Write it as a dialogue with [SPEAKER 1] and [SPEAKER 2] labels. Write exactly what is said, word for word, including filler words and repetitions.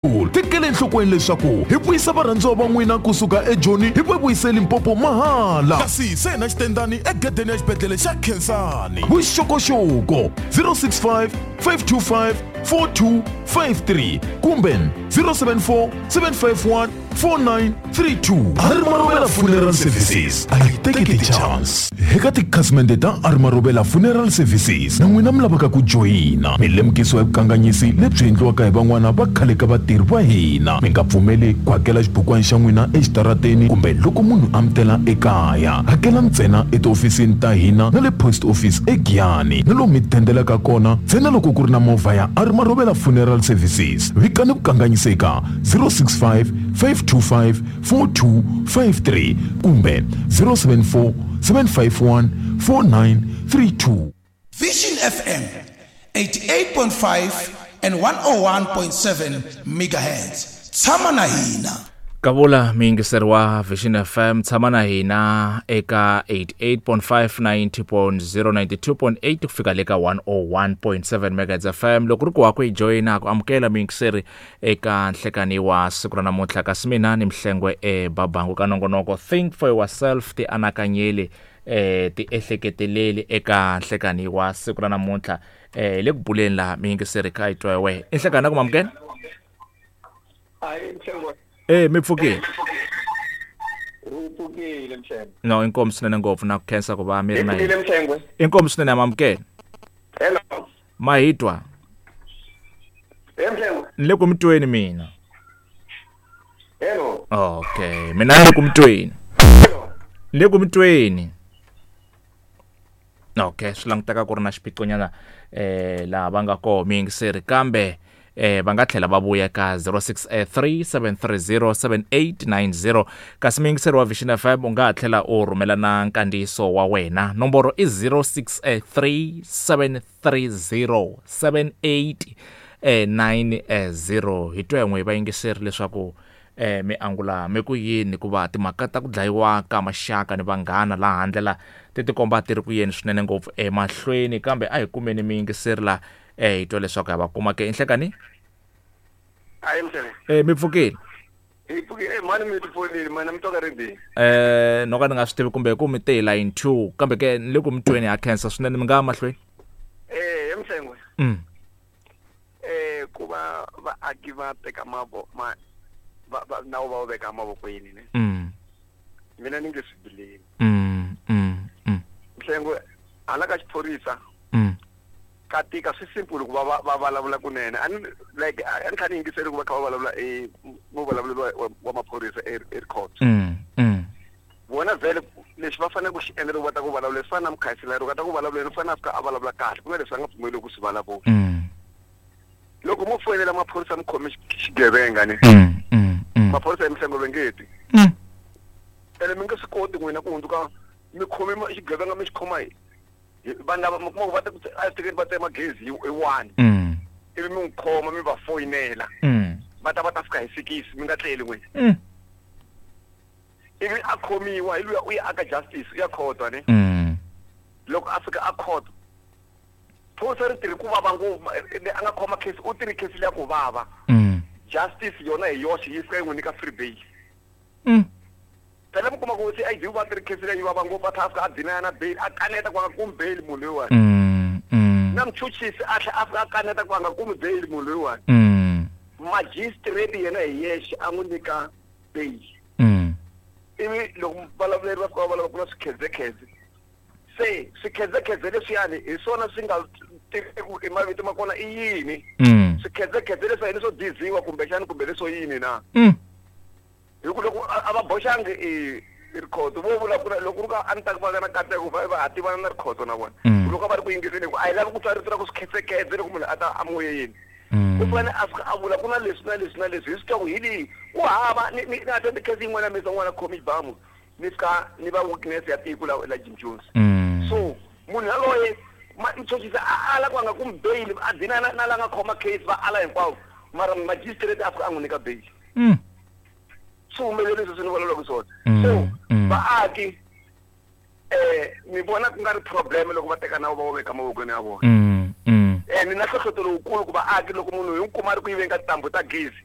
[SPEAKER 1] Tekela enhlokweni leswaku hi vuyisa varhandziwa va n'wina kusuka eJoni hi va vuyise Limpopo mahala, kasi se na xitendani egedeni ya xibedhlele xa Khensani. Vuxokoxoko zero six five five two five four two five three kumbe zero seven four seven five one four nine three two. Arimarovela Funeral Services a yi teki ti-chance. Eka tikhasimende ta Arimarovela Funeral Services na n'wina mi lavaka ku joyina, mi lemukisiwa hi vukanganyisi lebyi endliwaka hi van'wana va khale ka vatirhi va hina. Mi nga pfumeli ku hakela xibukwana xa n'wina exitarateni kumbe loko munhu a mi tela ekaya. Hakela ntsena etihofisini ta hina na le post office eGiyani, na lomu mi dendelaka kona ntsena loko ku ri na movha ya Arimarovela Funeral Services. Vikani vukanganyisi eka zero six five five two five four two five three kumbe zero seven four seven five one four nine three two.
[SPEAKER 2] Vision F M eighty-eight point five and one oh one point seven megahertz. Tshama na hina.
[SPEAKER 3] Kavula miyingiseri wa Vision F M, tshama na hina eka eighty-eight point five, ninety point zero, ninety-two point eight ku fika le ka one oh one point seven megahertz F M. Loko ri ku wa ku yi joyina ku amukela miyingiseri eka nhlekani wa siku ra namuntlha, kasi mina ni Mhlengwe eBabangu ka nongonoko Think for Yourself, ti anakanyeli, eh, ti ehleketeleli eka nhlekani wa siku ra namuntlha. Eh, le ku buleni laha miyingiseri kha yi twa wehe. I nhlekani na ku mamukela?
[SPEAKER 4] Hayi, Mhlengwe.
[SPEAKER 3] Eh, mi pfukile?
[SPEAKER 4] Ri pfukile, Mhlengwe.
[SPEAKER 3] No, inkomu swinene ngopfu na ku khensa ku va mi ri na
[SPEAKER 4] Hi pfukile,
[SPEAKER 3] hina.
[SPEAKER 4] Mhlengwe.
[SPEAKER 3] Inkomu swinene, mamukela.
[SPEAKER 4] Hello.
[SPEAKER 3] Mahitwa.
[SPEAKER 4] Eh, Mhlengwe.
[SPEAKER 3] Ni le ku mi tweni mina.
[SPEAKER 4] Hello.
[SPEAKER 3] Okay, mina ni le ku mi tweni.
[SPEAKER 4] Hello.
[SPEAKER 3] Ni le ku mi tweni. Okay, swi languteka ku ri na xiphiqonyana, eh, laha va nga koho miyingiseri, kambe eh, va nga tlhela va vuya ka zero six three seven three zero seven eight nine zero. Kasi miyingiseri wa Vision F M u nga ha tlhela u rhumela na nkandziyiso wa wena. Nomboro i zero six three seven three zero seven eight nine zero. Hi twa yin'we vayingiseri leswaku eh, mi angula mi ku yini hikuva timhaka ta ku dlayiwa ka maxaka ni vanghana laha handle la ti tikomba ti ri ku yeni swinene ngopfu emahlweni, kambe a hi kumeni miyingiseri la, eh, hi twa leswaku ha va kuma ke. Inhlekani?
[SPEAKER 4] Hayi, Mhlengwe.
[SPEAKER 3] Eh, mi pfukile?
[SPEAKER 4] Hi pfukile. Eh, mani mi tifonini, mani mi twa ka ri
[SPEAKER 3] Eh, no ka ni nga swi tivi kumbe ku mi te hi line two, kambe ke ni le ku mi tweni, ha khensa swinene, mi nga ya mahlweni.
[SPEAKER 4] Eh, Mhlengwe.
[SPEAKER 3] Mm.
[SPEAKER 4] Eh, ku va vaaki va teka mavo, ma, va, va, nawu va wu veka mavokweni, ne?
[SPEAKER 3] Mm.
[SPEAKER 4] Mina ni nge swi believe.
[SPEAKER 3] Mm, mm, mm.
[SPEAKER 4] Mhlengwe, hala ka xiphorisa,
[SPEAKER 3] Mm.
[SPEAKER 4] ka tika, swi simple ku va va, va vulavula kunene. A ni, like, a ni kha ni yingiseli ku va kha va vulavula e, mo vulavulelo wa, wa, wa maphorisa e, e court.
[SPEAKER 3] Mm, mm.
[SPEAKER 4] Vona vhele lexi va fanele ku xi endla loko va ta ku vulavula, swi fana na mukhanselara, loko a ta ku vulavuleni, u fanele a fika a vulavula kahle, ku nga leswi a nga pfumeli ku swi vulavula.
[SPEAKER 3] Mm.
[SPEAKER 4] Loko mo foyinela maphorisa mi khome xi-, xigevenga ne?
[SPEAKER 3] Mm, mm, mm.
[SPEAKER 4] Maphorisa ya Mhlengwe va nge ti.
[SPEAKER 3] Mm.
[SPEAKER 4] Ene mi nge swi koti n'wina ku hundzuka mi khome ma-, xigevenga mi xi khoma hi, hi vanhu lava mi kuma ku va ta ku tse-, a swi tekeni va tsema gezi hi, hi one.
[SPEAKER 3] Mm.
[SPEAKER 4] Ivi mi n'wi khoma mi va foyinela.
[SPEAKER 3] Mm.
[SPEAKER 4] Va ta va ta fika hi sikisi, mi nga tleli n'wina.
[SPEAKER 3] Mm.
[SPEAKER 4] Ivi a khomiwa hi luya u ya aka justice, u ya court ne?
[SPEAKER 3] Mm.
[SPEAKER 4] Loko a fika a court, phorisa ri tirhi ku vava ngopfu, ma-, eh, a nga khoma case, u tirhi case liya ku vava.
[SPEAKER 3] Mm.
[SPEAKER 4] Justice yona hi yoxe yi fika yi n'wi nyika free bail.
[SPEAKER 3] Mm.
[SPEAKER 4] Phela mi kuma ku C I D va tirhi case liya yi vava ngopfu, a tlhela a fika a deny na bail, a kaneta ku a nga kumi bail munhu loyiwani.
[SPEAKER 3] Mm, mm.
[SPEAKER 4] Na muchuchisi a tlhela a fika a kaneta ku a nga kumi bail munhu loyiwani.
[SPEAKER 3] Mm.
[SPEAKER 4] Magistrate yena hi yexe a n'wi nyika bail.
[SPEAKER 3] Mm.
[SPEAKER 4] Ivi loko vulavuleri va fika va vulavula ku na swikhedzekhedze. Se swikhedzekhedze leswiyani hi swona swi nga tiveki i mavito ma kona i yini.
[SPEAKER 3] Mm.
[SPEAKER 4] Swikhedzekhedze leswi hi leswo diziwa kumbexani kumbe leswo yini na?
[SPEAKER 3] Mm.
[SPEAKER 4] Hi ku loko a, a va boxangi i, i rikhoto, vo vula ku na, loko ku ri ka a ni ta ku va na nkateko, va, va ha tivana na rikhoto na vona.
[SPEAKER 3] Mm.
[SPEAKER 4] Loko a va ri ku yingiseni, ku a hi lavi ku twa rito ra ku swikhedzekhedze loko munhu a ta amoyeni.
[SPEAKER 3] Mm.
[SPEAKER 4] U fanele a fika a vula ku na leswi na leswi na leswi, hi swi twa ku hi leyi. Ku hava, ni, ni, ni attend case yin'wana ya mina, n'wana khomi xibamu, ni fika ni va witness ya tiko la, la Jim Jones.
[SPEAKER 3] Mm.
[SPEAKER 4] So munhu yaloye, ma-, muchuchisi a ala ku a nga kumi bail, a dina na, na la nga khoma case, va ala hinkwavo. Mara magistrate a fika a n'wi nyika bail.
[SPEAKER 3] Mm.
[SPEAKER 4] Swi humelele leswi ni vulavulaka swona.
[SPEAKER 3] Mm,
[SPEAKER 4] So,
[SPEAKER 3] mm.
[SPEAKER 4] vaaki, eh, ni vona ku nga ri problem loko va teka nawu va wu veka mavokweni ya vona.
[SPEAKER 3] Mm, mm.
[SPEAKER 4] Eh, ni na nhlohlotelo lowukulu ku vaaki loko munhu hi n'wi kuma a ri ku yiveni ka tintambu ta gezi,